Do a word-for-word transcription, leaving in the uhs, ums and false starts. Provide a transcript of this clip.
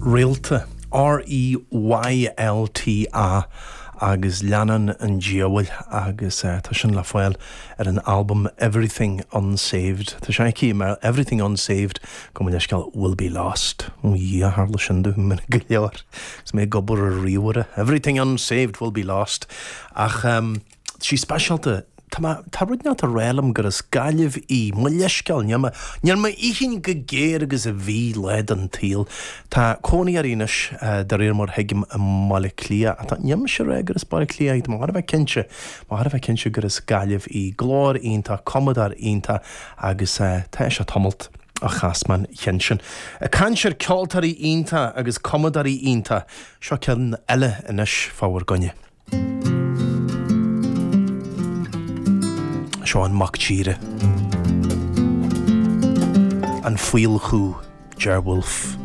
Réalta R E Y L T A agus Leannán an Diabhail agus uh, tá sin le fáil ar an album Everything Unsaved. Tá sé aici mar Everything Unsaved go leisceal will be lost. Ó tharla sin dom go leor. 'S mé ag obair ar ríomhaire. Everything unsaved will be lost. Ach um, sí speisialta. Tá rud ná rélam gur as Gaillimh í mo leithscéal Níl mé cinnte go géar agus a bhí le an tsaol. Tá cónaí uirthi anois de réir mar thuigim i mBaile Cliath atá níl sé rá gur as Baile Cliath mar bheith cinnte mar bheith cinnte gur as Gaillimh í glór iontach cumadóir iontach agus tá sé tamalt a chasman chinsin. Ag caint ar ceoltóirí iontacha agus cumadóirí iontacha seo ceann eile anois fá bhur gcoinne. Seo an mac tíre. An faolchú Ger Wolfe.